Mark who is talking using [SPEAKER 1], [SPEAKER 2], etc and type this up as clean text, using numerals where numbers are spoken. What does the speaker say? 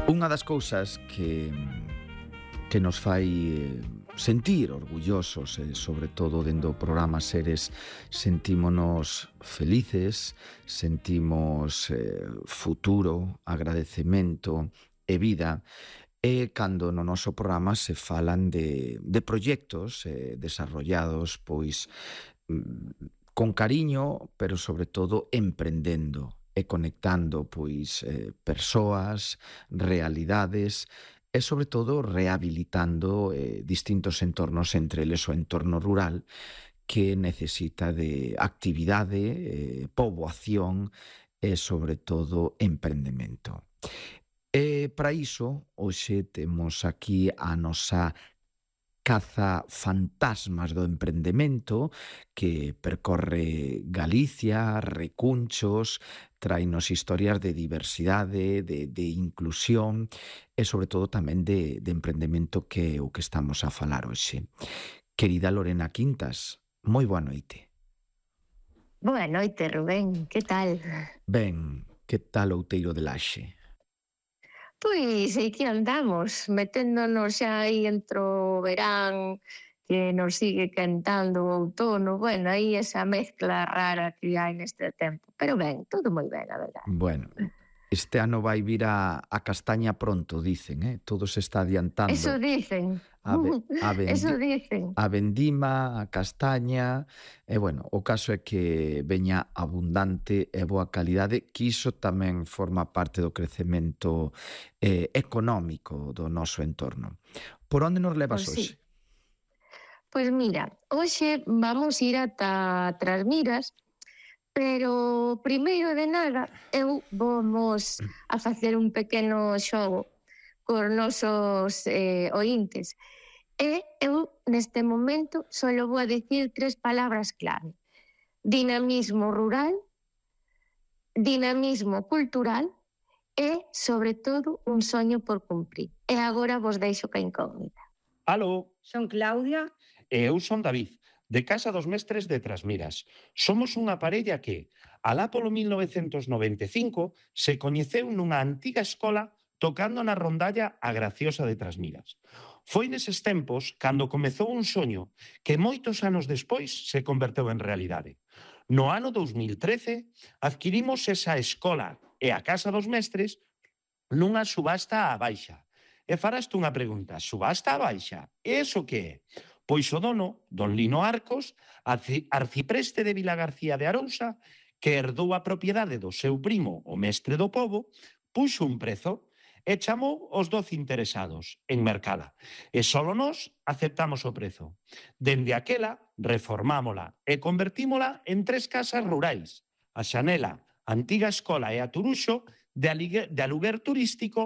[SPEAKER 1] Unha das cousas que nos fai sentir orgullosos, sobre todo dentro do programa Seres, sentímonos felices, sentimos futuro, agradecemento e vida, e cando no noso programa se falan de proxectos desarrollados pois con cariño, pero sobre todo emprendendo e conectando pois persoas, realidades e sobre todo rehabilitando distintos entornos, entre eles o entorno rural que necesita de actividade, poboación e sobre todo emprendemento. E para iso, hoxe temos aquí a nosa caza fantasmas do emprendemento que percorre Galicia, recunchos, trainos historias de diversidade, de inclusión e sobre todo tamén de emprendemento, que é o que estamos a falar hoxe. Querida Lorena Quintas, moi boa noite.
[SPEAKER 2] Boa noite, Rubén, que tal?
[SPEAKER 1] Ben, que tal Outeiro de Laxe?
[SPEAKER 2] Pois aquí andamos, meténdonos xa aí entre o verán, que nos sigue quentando o outono, bueno, aí esa mezcla rara que hai neste tempo. Pero ben, todo moi ben, a verdade.
[SPEAKER 1] Bueno, este ano vai vir a castaña pronto, dicen, todo se está
[SPEAKER 2] Eso
[SPEAKER 1] adiantando.
[SPEAKER 2] dicen,
[SPEAKER 1] A, a,
[SPEAKER 2] eso
[SPEAKER 1] vendi,
[SPEAKER 2] dicen.
[SPEAKER 1] a vendima, a castaña, e bueno, o caso é que veña abundante e boa calidade, que iso tamén forma parte do crecemento económico do noso entorno. Por onde nos levas
[SPEAKER 2] Pois sí.
[SPEAKER 1] hoxe?
[SPEAKER 2] Pois mira, hoxe vamos ir ata Trasmiras, pero primeiro de nada eu vamos a facer un pequeno xogo cos nosos ointes. E eu, neste momento, só vou a dicir 3 palabras clave: dinamismo rural, dinamismo cultural e, sobre todo, un soño por cumprir. E agora vos deixo ca incógnita.
[SPEAKER 3] Aló,
[SPEAKER 4] Son Claudia.
[SPEAKER 3] e eu son David, de Casa dos Mestres de Trasmiras. Somos unha parella que, alá polo 1995, se coñeceu nunha antiga escola tocando na rondalla A Graciosa de Trasmiras. Foi neses tempos cando comezou un soño que moitos anos despois se converteu en realidade. No ano 2013 adquirimos esa escola e a Casa dos Mestres nunha subasta á baixa. E faraste unha pregunta: subasta á baixa? Eso que é? Pois o dono, don Lino Arcos, arcipreste de Vilagarcía de Arousa, que herdou a propiedade do seu primo, o mestre do pobo, puxo un prezo e chamou os 12 interesados en mercala. E solo nós aceptamos o prezo. Dende aquela, reformámola e convertímola en 3 casas rurais: a Xanela, a antiga escola e a Turuxo, de aluguer turístico